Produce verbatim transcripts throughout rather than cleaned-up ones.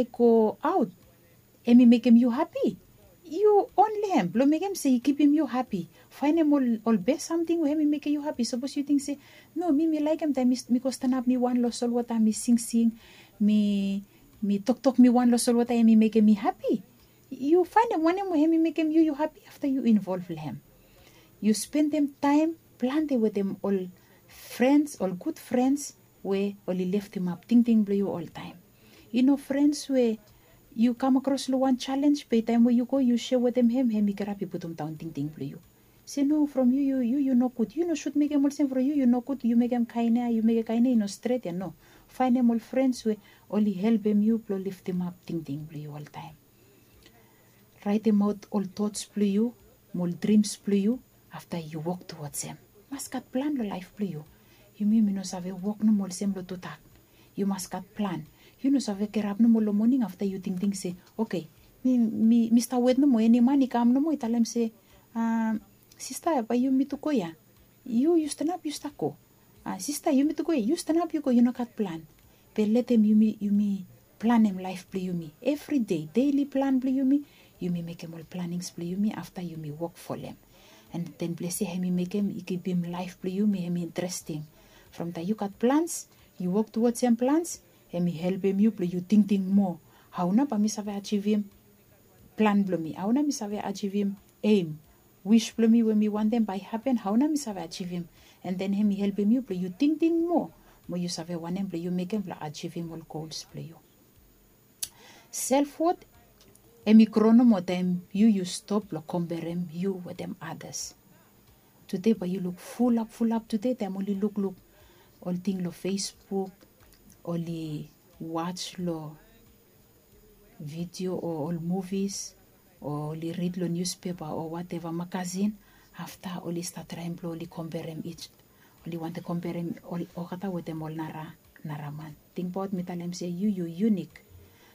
i go aot, em i mekem yu hapi, yu onli hem blong mekem se i kipim yu hapi. Faenem ol bes samting we em i mekem yu hapi. Sapos yu ting se, no, mi mi laekem taem mi go stanap mi wan long solwota mi singsing, mi toktok mi wan long solwota em i mekem mi hapi. Yu faenem wanem we em i mekem yu yu hapi, afta yu involv long hem. Yu spendem taem plante wetem ol frens, ol gud frens we oli leftemap tingting blong yu oltaem. I no frens we yu kam akros long wan jalenj be taem we yu go yu seo wetem hem, hem i kirap i putum daon tingting blong yu. Se no, from yu yu yu yu nogud, yu no sud mekem olsem. From yu yu nogud, yu mekem kaen ya, yu mekem kaen ya i no stret ya. No, faenem ol frens we oli helpem yu blong leftemap tingting blong yu oltaem. Raetemaot ol tots blong yu mo ol drims blong yu, afta yu wok tuwods hem. Mas gat plan long laef blong yu. Yumi mi no save wok nomo olsem long tudak. Yu mas gat plan. Yu no save kirap nomo long moning afta yu tingting se, oke, mi mi mi stap wet nomo eni man i kam nomo i talem se, sista, bae yumi tu go ya. Yu yu stanap yu stap go. Sista, yumi tu go ya, yu stanap yu go, yu no gat plan. Be letem yumi yumi planem laef blong yumi evri dei, deili plan blong yumi. Yumi mekem ol planings blong yumi afta yumi wok folem. An den ples ya hem i mekem i kipim laef blong yumi hem i interesting. From taem yu gat plans, yu wok tuwods hem plans, hem i helpem yu blong yu tingting moa, hao nao bae mi save ajivim plan blong mi? Hao nao mi save ajivim eim, wis blong mi we mi wantem bae i hapen, hao nao mi save ajivim? An den hem i helpem yu blong yu tingting moa mo yu save wanem blong yu mekem blong ajivim ol gols blong yu. Selfwot hem i gro nomo taem yu yu stop blong komperem yu wetem adas. Tude bae yu luk fulap fulap tude taem oli lukluk ol ting long Facebook, oli waj long vidio o ol muvis, o oli rid long niuspepa o wateva magasin. Afta oli stap traem blong oli komperem ij oli wantem komperem olgeta wetem ol nara nara man. Tingbaot mi talem se yu yu yunik.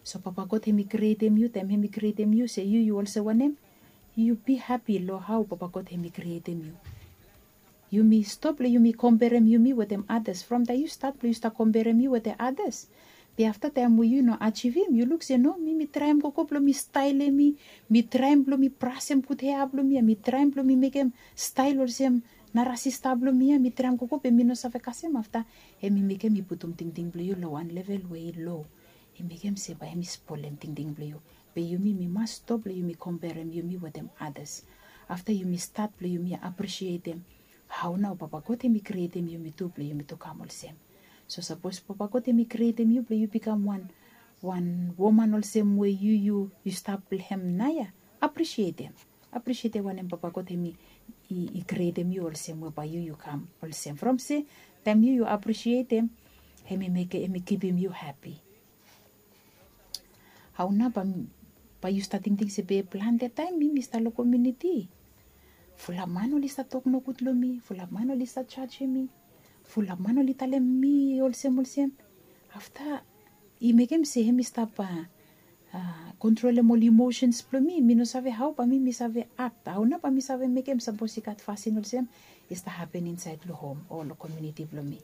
So papa god hem i krietem yu taem hem i krietem yu se yu yu olsem wanem? Yu bi hapi long hao papa god hem i krietem yu. Yumi stop long yumi komperem yumi wetem adas. From taem yu stat blong yu stap komperem yu wetem adas, be afta taem we yu no ajivim yu luk se no, mi mi traem gogo blong mi staelem mi, mi traem blong mi brasem gud hea blong mi ya, mi traem blong mi mekem stael olsem nara sista blong mi ya, mi traem gogo be mi no save kasem. Afta hem i mekem i putum tingting blong yu long wan level we i lo. I mekem se bae hem i spolem tingting blong yu. Be yumi mi mas stop long yumi komperem yumi wetem adas. Afta yumi stat blong yumi aprisietem hao nao papa god hem i krietem yumi tu blong yumi tu kam olsem. So sapos papa god hem i krietem yu blong yu bikam wan wan woman olsem we yu yu yu stap blong hem naoia, aprisietem. Aprisietem wanem papa god hem i krietem yu olsem we bae yu yu kam olsem. From se taem yu yu aprisietem, hem i mekem hem i kipim yu hapi. Hao nao bae yu stap tingting se be plante taem mi mi stap long komiuniti, fulap man oli stap tok nogud long mi, fulap man oli stap jajem mi, fulap man oli talem mi olsem olsem. Afta i mekem se hem i stap kontrolem ol imosens blong mi. Mi no save hao bae mi mi save akt, hao nao bae mi save mekem sapos i gat fasin olsem i stap hapen insaed long hom o long komiuniti blong mi.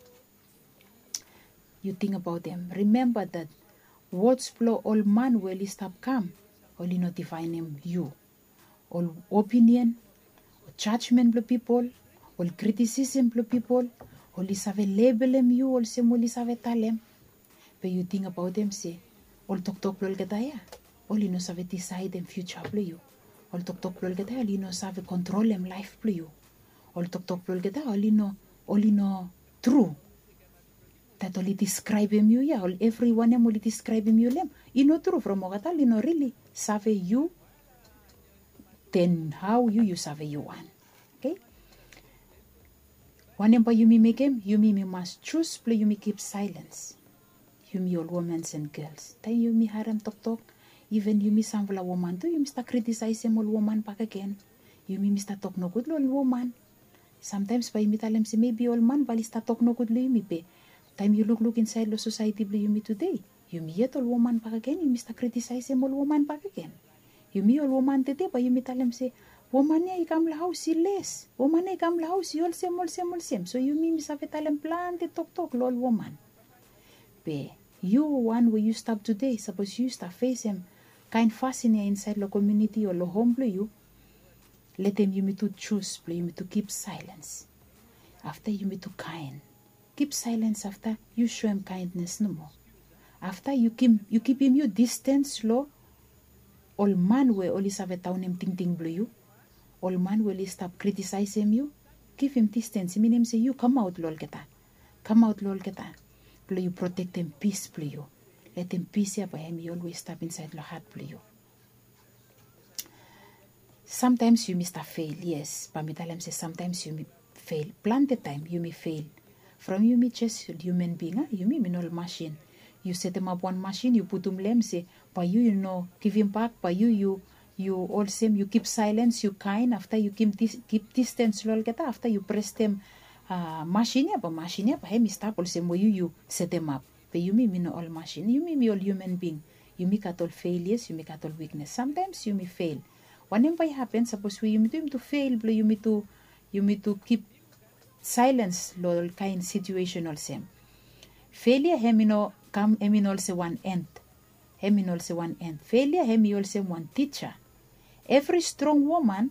Yu tingbaot hem. Rimemba dat wods blong ol man we oli stap kam, oli no difaenem yu. Ol opinion, ol jajmen blong pipol, ol kritisisem blong pipol, oli save lebelem yu olsem oli save talem. Be yu tingbaot hem se ol toktok blong olgeta ya oli no save disaedem fiuja blong yu. Ol toktok blong olgeta ya oli no save kontrolem laef blong yu. Ol toktok blong olgeta ya oli no oli no tru. Dat oli diskraebem yu ya, ol evriwan hem oli diskraebem yu long hem, i no tru. From olgeta oli no rili save yu, den hao yu yu save yu wan? Oke. Wanem bae yumi mekem? Yumi mi mas jus blong yumi kip saelens. Yumi ol womans an gels, taem yumi harem toktok, iven yumi samfala woman tu yumi stap kritisaesem ol woman bakegen. Yumi mi stap tok nogud long ol woman. Samtaems bae yumi talem se mebi ol man bae oli stap tok nogud long yumi, be taem yu lukluk insaed long sosaeti blong yumi tude, yumi yet ol woman bakegen yumi stap kritisaesem ol woman bakegen. Yumi ol woman tede bae yumi talem se woman ya i kam long haos i les, woman ya i kam long haos i olsem olsem olsem. So yumi mi save talem plante toktok long ol woman. Be Yu wan we yu stap tude, sapos yu stap fesem kaen fasin ya insaed long komuniti o long hom blong yu, letem yumi tu jus blong yumi tu kip saelens. Afta yumi tu kaen. Kip saelens afta yu soem kaendnes nomo. Afta yu kipim yu distens long ol man we oli save daonem tingting blong yu, ol man we oli stap kritisaesem yu. Givim distens i minim se yu kamaot long olgeta. Kamaot long olgeta blong yu protektem pis blong yu. Letem pis ya bae hem i olwes stap insaed long hat blong yu. Samtaems yumi stap fel, yes, bae mi talem se samtaems yumi fel. Plante taem yumi fel. From yumi jes hiuman bing, a yumi mi no ol masin. Yu setemap wan masin, yu putum long hem se bae yu yu no givimbak, bae yu yu yu olsem yu kip saelens, yu kaen, afta yu kip distens long olgeta, afta yu prestem masin ya, bae masin ya bae hem i stap olsem we yu yu setemap. Be yumi mi no ol masin, yumi mi ol hiuman bing. Yumi gat ol felias, yumi gat ol wiknes. Samtaems yumi fel. Wanem bae i hapen sapos we yumi tu yumi tu fel blong yumi tu yumi tu kip saelens long ol kaen situesen olsem? Felia hem i no kam hem i no olsem wan end. Hem i no olsem wan end. Felia hem i olsem wan tija. Evri strong woman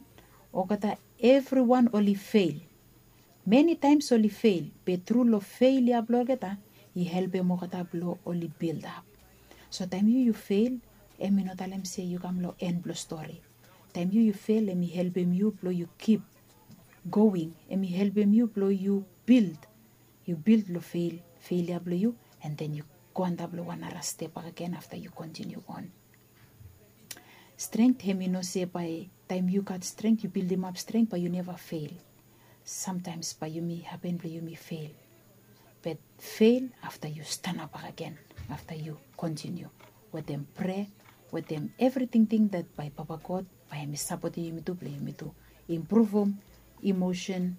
olgeta evriwan oli fel. Meni taems oli fel, be tru long fel ya blong olgeta i helpem olgeta blong oli bildap. So taem yu yu fel, hem i no talem se yu kam long en blong stori. Taem yu yu fel hem i helpem yu blong yu kip going, hem i helpem yu blong yu bild. Yu bild long fel, fel ya blong yu, and then yu go antap long wan nara step bakegen afta yu kontiniu on. Strength hem i no se bae taem yu gat strength, yu bildimap strength bae yu neva fel. Samtaems bae yumi hapen blong yumi fel. Be fel afta yu stanap bakegen, afta yu kontiniu wetem prea, wetem evri tingting dat bae Papa God bae hem i sapotem yumi tu blong yumi tu impruvum emosen,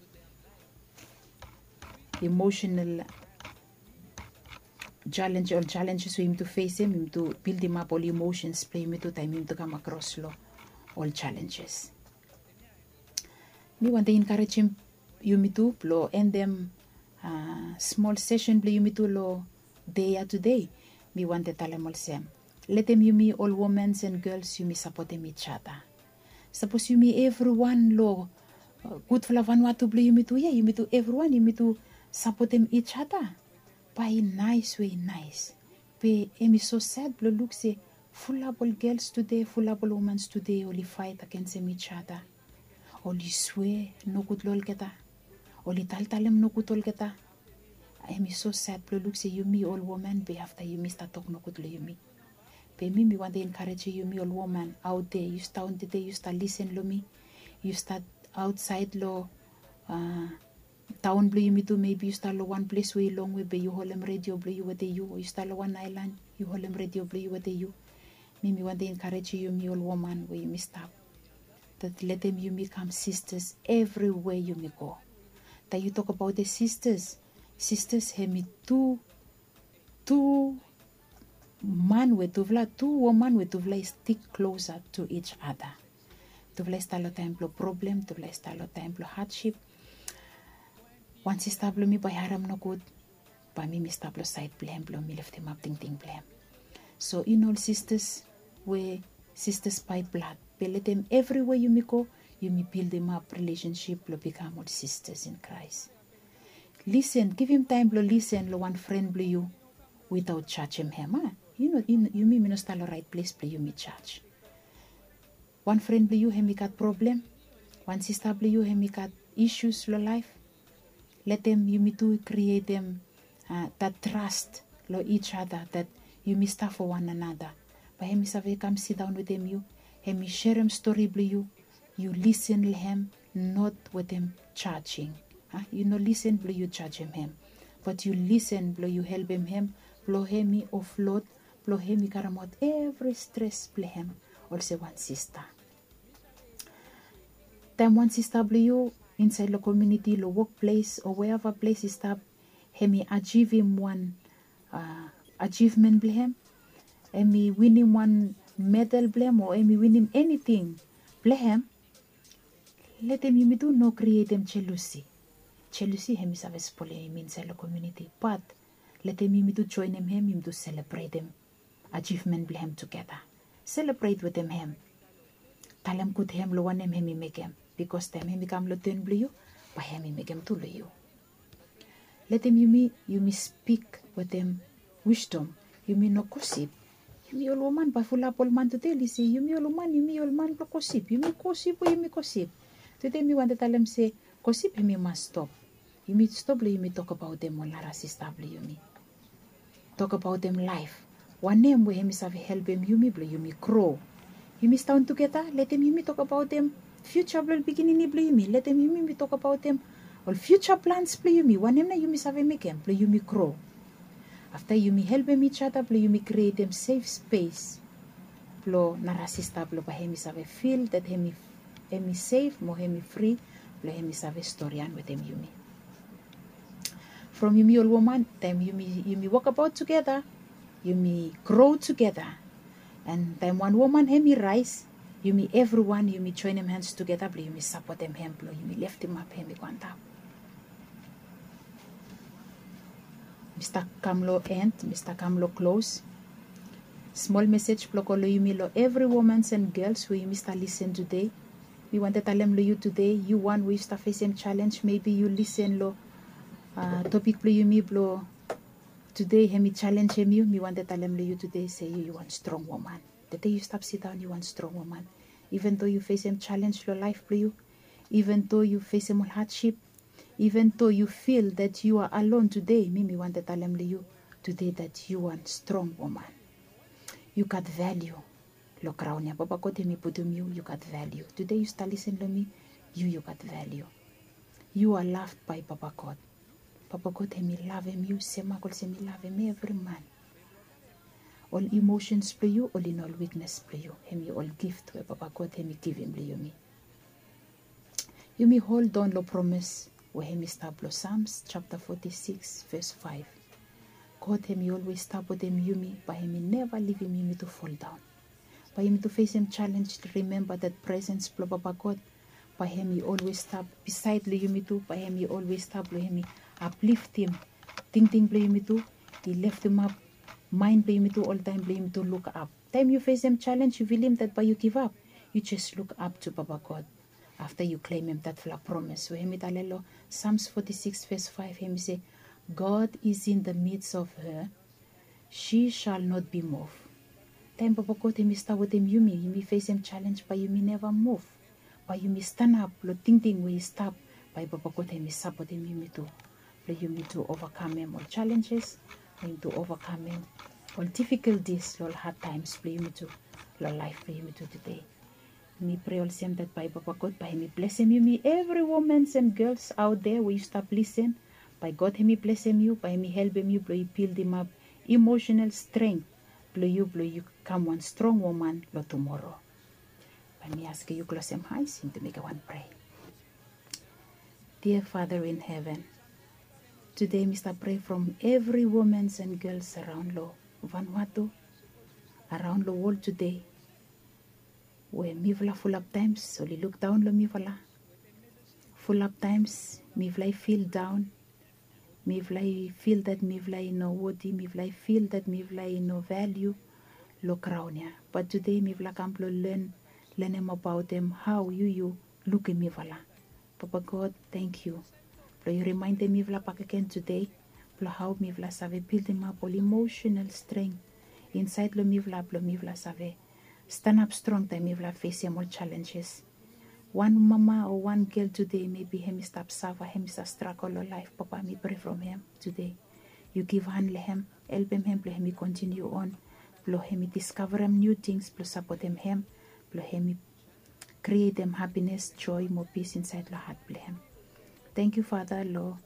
emosenal jalenj, ol jalenjes we yumi tu fesem, yumi tu bildimap ol emosens blong yumi tu taem yumi tu kam akros long ol jalenjes. Mi wantem enkarejem yumi tu blong endem smol sesen blong yumi tu long dei ya tude. Mi wantem talem olsem, letem yumi ol womans and gels yumi sapotem ijata. Sapos yumi evriwan long gudfala vanua tu blong yumi tu ya, yumi tu evriwan yumi tu sapotem ijata, bae i naes we i naes. Be hem i so sad blong luk se fulap ol gels tude, fulap ol womans tude oli faet agensem ijata. Oli swea nogud long olgeta. Oli taltalem nogud olgeta. Hem i so sad blong luk se yumi ol woman be afta yumi stap tok nogud long yumi. Be mi mi wantem enkarejem yumi ol woman aot dea, yu stap on tede, yu stap lisen long mi. Yu stap aotsaed long taon blong yumi tu, mebi yu stap long wan ples we i longwe be yu holem redio blong yu wetem yu, o yu stap long wan aelan yu holem redio blong yu wetem yu. Mi mi wantem enkarejem yumi ol woman we yumi stap, dat letem yumi kam sistas evriwe yumi go. Taem yu tokbaot sistas, sistas hem i tu, tu man we tufala, tu woman we tufala i stik klosa tu ij ada. Tufala i stap long taem blong problem, tufala i stap long taem blong hadsip. Wan sista blong mi bae i harem nogud, bae mi mi stap long saed blong hem blong mi leftemap tingting blong hem. So i no ol sistas we sistas bae blad, be letem evriwe yumi go yumi bildimap rilesensip blong bikam ol sistas in Kraes. Lisen, givim taem blong lisen long wan fren blong yu witaot jajem hem, a? Yumi mi no stap long raet ples blong yumi jaj. Wan fren blong yu hem i gat problem, wan sista blong yu hem i gat isus long laef. Letem yumi tu i krietem dat tras long ij ada, dat yumi stap fo wan anata. Bae hem i save kam sidaon wetem yu, hem i serem stori blong yu. Yu lisen long hem, not wetem jajing. Yu no lisen blong yu jajem hem, bat yu lisen blong yu helpem hem, blong hem i oflod, blong hem i karemaot evri stres blong hem olsem wan sista. Taem wan sista blong yu insaed long komuniti, long wokples o weava ples i stap, hem i ajivim wan ajivmen blong hem, hem i winim wan medal blong hem o hem i winim eniting blong hem, letem yumi tu no krietem jelusi. Jelusi hem i save spolem yumi insaed long komuniti. Bat Letem yumi tu joenem hem, yumi tu selebretem ajivmen blong hem tugeta. Selebret wetem hem. Talem gud hem long wanem hem i mekem. Bikos taem hem i kam long ten blong yu, bae hem i mekem tu long yu. Letem yumi, yumi spik wetem wisdom. Yumi no gosip. Yumi ol woman bae fulap ol man tude oli se yumi ol woman, yumi ol man blong gosip. Yumi gosip we yumi gosip. Tude mi wantem talem se gosip hem i mas stop. Yumi stop long yumi tokbaotem ol nara sista blong yumi. Tokbaotem laef. Wanem we hem i save helpem yumi blong yumi gro. Yumi staon tugeta, letem yumi tokbaotem fiuja blong ol pikinini blong yumi. Letem yumi, yumi tokbaotem ol fiuja plans blong yumi. Wanem nao yumi save mekem blong yumi gro. Afta yumi helpem ijada blong yumi krietem sef spes blong nara sista blong bae hem i save fil dat hem i, hem i sef mo hem i fri blong hem i save storian wetem yumi. From yumi ol woman, taem yumi, yumi wokbaot tugeta, yumi gro tugeta. An taem wan woman hem i raes, yumi evriwan yumi joenem hans tugeta blong yumi sapotem hem blong yumi leftemap hem i go antap. Mi stap kam long en, mi stap kam long klos. Smol mesej blong go long yumi long evri womans an gels we yumi stap lisen tude. Mi wantem talem long yu tude, yu wan we yu stap fesem jalenj, mebi yu lisen long topik blong yumi blong tude, hem i jalenjem yu. Mi wantem talem long yu tude se yu, yu wan strong woman. Tede yu stap sidaon, yu wan strong woman. Iven do yu fesem jalenj long laef blong yu, iven do yu fesem ol hadsip, iven do yu fil dat yu are alon tude, mi, mi wantem talem long yu tude dat yu wan strong woman. Yu gat valiu long graon ya. Papa God hem i putum yu, yu gat valiu. Tude yu stap lisen long mi, yu, yu gat valiu. Yu are loved by Papa God. Papa God hem i lavem yu semak olsem i lavem evri man. Ol emosens blong yu oli no ol wiknes blong yu. Hem i ol gift we Papa God hem i givim long yumi. Yumi holdaon long promes we hem i stap long Psalms japta foti sikis ves faef. God hem i olwes stap wetem yumi, bae hem i neva livim yumi tu foldaon. Bae yumi tu fesem jalenj, rimemba dat presens blong Papa God, bae hem i olwes stap bisaed long yumi tu, bae hem i olwes stap blong hem i apliftim tingting blong yumi tu, i leftemap maen blong yumi tu oltaem blong yumi tu lukap. Taem yu fesem jalenj, yu filim dat bae yu givap, yu jes lukap tu Papa God. Afta yu klemem datfala promes we hem i talem long Psalms foti sikis ves faef, hem i se, God is in the midst of her, she shall not be moved. Taem Papa God hem i stap wetem yumi, yumi fesem jalenj, bae yumi neva muv. Bae yumi stanap long tingting we i stap, bae Papa God hem i sapotem yumi tu blong yumi tu ovakamem ol jalenjes, blong yumi tu ovakamem ol difikaltis long ol had taems blong yumi tu long laef blong yumi tu tude. Mi prea olsem dat bae Papa God bae hem i blesem yumi evri womans an gels aot dea we yu stap lisen. Bae God hem i blesem yu, bae hem i helpem yu blong yu bildimap emosenal strength blong yu, blong yu kam wan strong woman long tumoro. Bae mi askem yu klosem aes, yumi tu mekem wan prea. Dear Father in heaven, tude mi stap prea from evri womans an gels araon long Vanuatu, araon long wol tude, we mifala fulap taems oli lukdaon long mifala. Fulap taems mifala i fil daon. Mifala i fil dat mifala i no woti, mifala i fil dat mifala i no valiu long graon ya. Bat tude mifala kam blong len, lenem abaotem hao yu, yu lukim mifala. Papa God, tangkiu blong yu rimaendem mifala bakegen tude blong hao mifala save bildimap ol emosenal strength insaed long mifala blong mifala save stanap strong taem mifala fesem ol jalenjes. Wan mama o wan gel tude, mebi hem i stap safa, hem i stap stragol long laef, Papa, mi prea from hem tude. Yu givhan long hem, helpem hem blong hem i kontiniu on, blong hem i diskavarem niu tings blong sapotem hem, blong hem i krietem hapines, joe mo pis insaed long hat blong hem. Tangkiu, Fata, long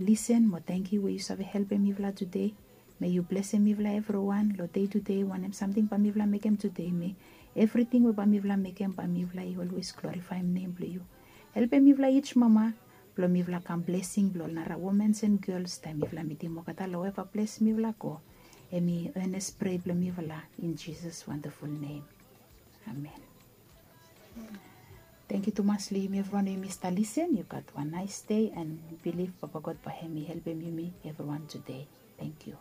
lisen mo tangkiu we yu save helpem mifala tude. May yu blesem mifala evriwan long dei tude, wanem samting bae mifala mekem tude, may evriting we bae mifala mekem, bae mifala i olwes glorifaem nem blong yu. Helpem mifala each mama blong mifala kam blesing blong ol nara womans and gels taem mifala mitim olgeta long weva ples mifala go. Hemi earnest prea blong mifala in Jesus' wonderful name. Amen. Tangkiu tumas long yumi evriwan we yumi stap lisen. Yu gat wan nais dei, and bilif Papa God bae hem i helpem yumi evriwan tude. Tangkiu.